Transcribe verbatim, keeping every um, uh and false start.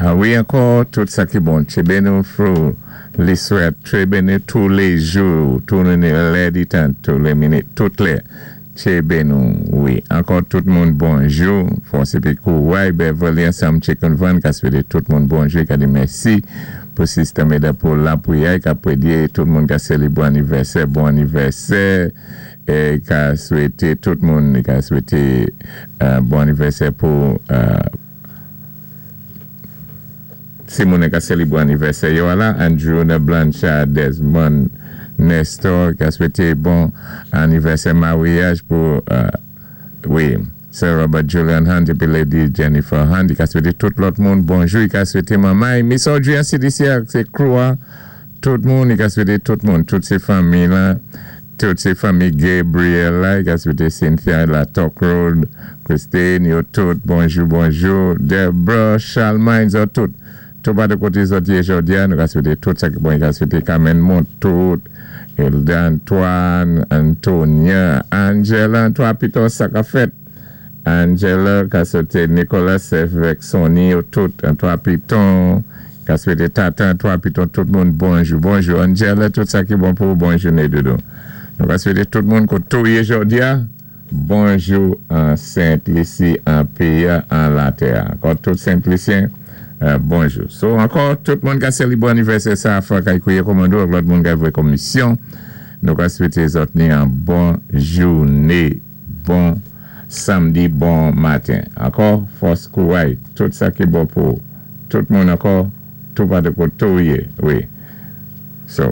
Ah wi, ankò, tout sa ki bon. Tchébé nou through li swèt, tchébe nou tou lé jou, tou lè di tan, tou lé minit, tout lè. Tchébe nou, wi. Ankò tout moun bonjou. Fòs épi kouway, Beverly ansanm Chicken Van, ka swété tout moun bonjou, ka di mèsi pou Sister Meda pou lapwiyè, ka pwédyé tout moun ka sélibwé anivèsè, bon anivèsè, é ka swété tout moun, ka swété euh, bon anivèsè pou euh, si moun ka sélibwé anivèsè yo la, Andrew Blanchard, Desmond, Nestor, ka swété bon anivèsè maryaj pou, euh, wi, Sir Robert Julian Hunt épi Lady Jennifer Hunt, i ka swété tout lòt moun bonjou, i ka swété manmay, Miss Audrey an C D C, sé crew, tout moun, i ka swété tout moun, tout sé fanmi la, tout sé fanmi Gabriel la, i ka swété Cynthia la Talk Road, Christine, yo tout, bonjou, bonjou, Deborah, Charlemagne, zo tout, tout pa de koté zòt yé jòdi a, nou ka swété tout sa ki bon, i ka swété Carmen Montout, Elda Antoine, Antonia, Angela, Antoine Piton, sa ka fèt, Angela, ka swété Nicolas, avèk Sonny, yo tout, Antoine Piton, ka swété Tata Antoine Piton, tout moun bonjou, bonjou, Angela, tout sa ki bon pou bonjou né doudou. Nou ka swété tout moun koté ou yé jòdi a, bonjou an Saint-Lucie, an péyi, an latè. Ankò tout Saint-Lucien, euh, bonjou. So, ankò, tout moun ka sélibwé anivèsè sa, fwa kay kouye komando, ak lòt moun ka vwé komisyon, nou ka swété zòt ni an bon jouné, bon samdi, bon maten. Ankò, fòs kouway, tout sa ki bon pou tout moun ankò, tout pa de koté ou yé, wi. So,